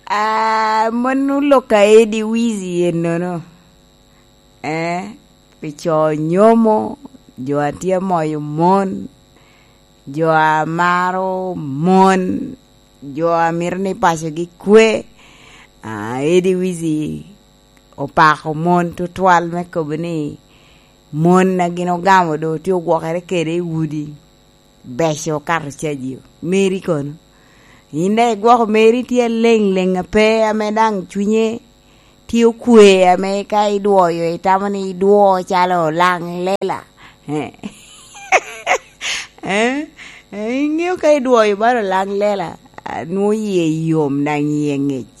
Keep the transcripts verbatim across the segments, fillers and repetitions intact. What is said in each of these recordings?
Ah, mano lok a Eddie Wizzy ennono. Eh, pi co nyomo, jo a tye amoyo mon, jo a maro mon, jo a mito ni pacogi kwe. Ah, Eddie Wizzy opako mon tutwal me kobo ni mon a gin ogamo doŋ tye ogwokere kede i udi. Beco okato caji. Meri kono? In daŋ igwoko meri tye aleng leng ape ame daŋ cwinye tye okwe ame ka idwoyo itamo ni idwo calo lang lela. Eh? Eh? Eh, iŋeo ka idwoyo balo lang lela, ah, nwoŋo yie yom daŋ yie ŋec.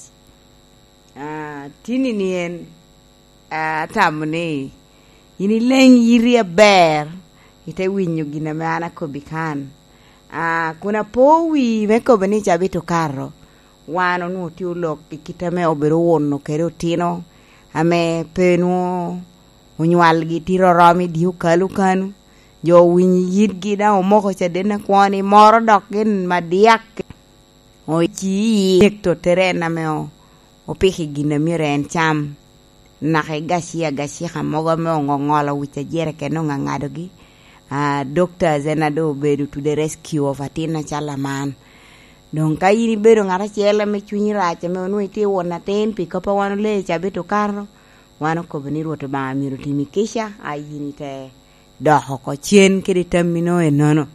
Ah, tini ni en, ah, atamo ni in ileng yiti aber, ite winyo gin ame an akobbi kan. Ah, kun apo wi me kobo ni cabit okato, wan onwoŋo tye olok i kit ame obedo owuno kede otino ame pe nwoŋo onywalgi tye oromo i dye okalu kanu. Jo owinyo i yitgi daŋ omoko caden akwo ni moro dok gin madyak. Oci i nek tottere en ame o-, opiko i gin a myero en cam. Naka i gaci agacika mogo ame oŋoŋolo wic a jereken oŋaŋadogi. Ah, doctors en a doŋ obedo to the rescue of atin acalo aman. Doŋ ka in ibedo ŋat acel ame cwinyi rac ame onwoŋo itye won atin pi kop a wan olee i cabit okato, wan okobo ni Rwot Obaŋa myero otimi kica, a in ite dok oko cen kede tammi no ennono.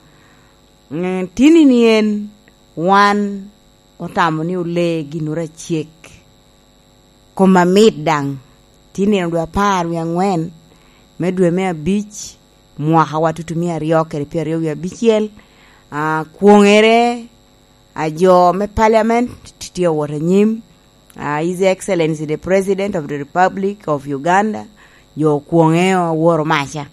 Mm, tini ni en, wan otamo ni olee ginnoro acek. Kom amit daŋ, tye nino dwe apar wie aŋwen me dwe me abic, mwaka wa tutumia aryo kede pyeraryo wie abicel. Ah, kwoŋere, ah, jo me parliament tye awot anyim. Ah, His Excellency the President of the Republic of Uganda, jo okwoŋe Aworo Maca.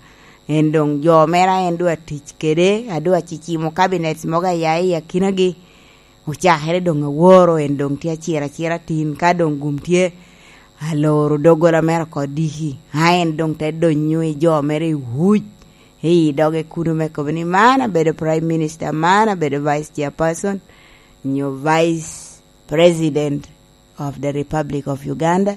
En doŋ jo mere a en doŋ atic kede, a doŋ acicimo cabinets mogo aya i akinagi. Ocakere doŋ Aworo, en doŋ tye aciro acira tin, ka doŋ gum tye aloro doggola mere oko diki. A en doŋ te donyo i jo mere i wuc, i doge kuno me kobo ni, "Man abedo Prime Minister, man abedo Vice Chairperson, nyo Vice President of the Republic of Uganda."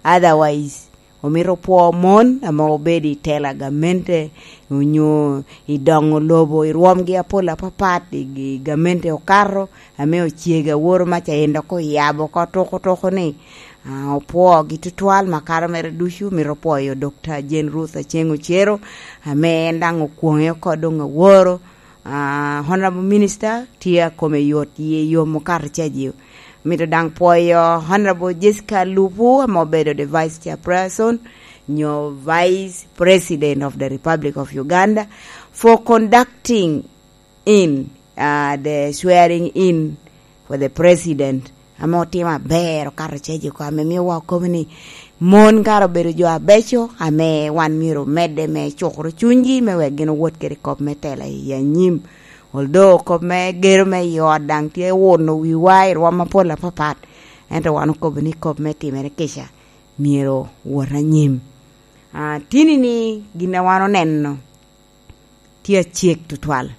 Otherwise, omito opwo mon ame obedo i tela gamente, onyo i doŋo lobo, i rwomgi apol apapat, i, i gamente okato, ame ocego Aworo Maca en dok oyabo oko tuko tuko ni, ah, opwogi tutwal, makato mere ducu, mito pwoyo Doctor Jane Ruth Aceng Ocero, ame en daŋ okwoŋe oko doŋ Aworo. Ah, Honorable Minister tye akome yot, yie yom okato caji. Mito daŋ pwoyo Honorable Jessica Lupu, ame obedo the Vice Chairperson, nyo Vice President of the Republic of Uganda, for conducting in, ah, the swearing in for the President, ame otimo aber, okato caji oko, ame miowa okobo ni mon kara obedo jo abeco, ame wan myero omedde me cukoro cunygi, me wek gin owot kede kop me tela i anyim. Although kop me gedo me i ot daŋ tye wuno wiwa i rwom apol apapat, ento wan okobo ni kop me timere kica myero wot anyim. Ah, tini ni gin a wan oneno tye acek tutwal.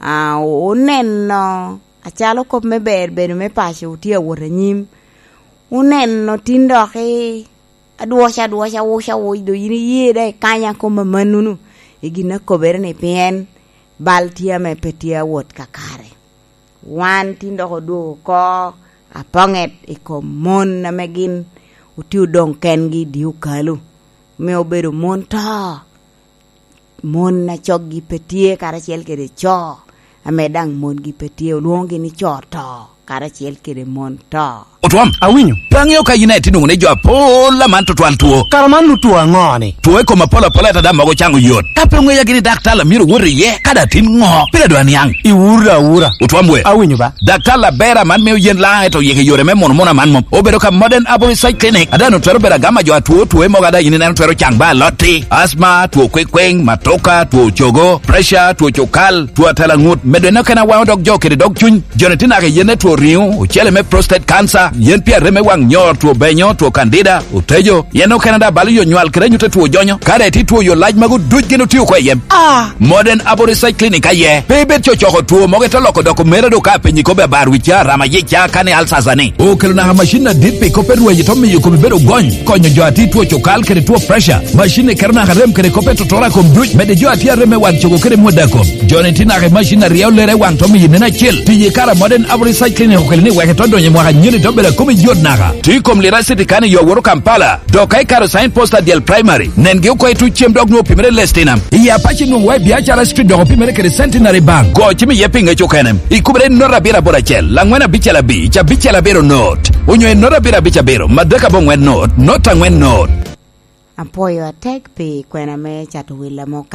Ah, oneno acalo kop me ber bedo me paco tye awot anyim. Oneno tin dok i adwoc adwoc, awuc awuc, do yin iye da ikanya kom amanunu i gin a kobere ni pien bal tye ame pe tye awot kakare. Wan tin dok odwogo oko apoŋet i kom mon ame gin otye odoŋ kengi i dye okalu, me obedo mon to. Mon a coggi pe tye karacel kede co, ame daŋ mongi pe tye, olwoŋogi ni co to, karacel kede mon to. Otwom, awinyo. Pe aŋeo ka yin aye tye nwoŋo ni jo apol aman tutwal two. Kara man nu two aŋo ni? Two i kom apol apol, ata daŋ mogo caŋo yot. Ka pe oŋeya gini daktar a myero wot iye, ka daŋ tin ŋo? Pire dwa niaŋ. Iwura awura. Otwom we. Awinyo ba. Daktar aber aman mio yen laŋ, ento yeke yore me mono mono aman mom. Obedo ka Modern Herbal Research Clinic, ada no twero bedo agama jo atwo, two mogo ada yin ineno twero caŋ ba alotti, asma, two kwekweng, matoka, two cogo, pressure, two cukal, two atela ŋut, medo eno kena waŋo dog jo kede dog cuny, jo ne tye naka yen ne two riŋo, ocele me prostate cancer, Yen pi arem me waŋ nyor, two benyo, two kandida, otejo, yen okene daŋ balo yo nywal kede anyut a two jonyo. Kare ti two yo lac magu duc gin otio oko i yem. Ah! Modern Abo Research Clinic aye. Pe ibed cocoko two mogo ite loko dok omera do ka penyi kobbe abar wicca, rama yica, kani alsasa ni. Okelo naka macin adit pi kop e rweny ito miyo kome bedo gony, konyo jo a ti two cukal kede two pressure. Macin ni keto naka rem kede kop e totoro a kom duc, mede jo a ti arem me waŋ cogo kede mwod a kom. Jo ni ti naka i macin a ryeo lere waŋ to miyo nen acel. Tiye kara Modern Abo Research Clinic okelo ni wek ito donyo i mwaka nyeni to bedo a kom i yot naka. Ti kom lira city kani yo woro Kampala. Dok ka ikaro sign post adyel primary, nengi oko i tuc cem dok nwoŋo opimere i Lestinam. I Apac inwoŋo wa i Biacara Street dok opimere kede Centenary Bank. Go cim iye pi ŋec okene. Ikubere i not abiro aboro acel, laŋwen abicel abic, abicel abiro not. Onyo i not abiro abic abiro, madek aboŋwen not, not aŋwen not. Apwoyo atek pi kwena me cato wi Lamuka.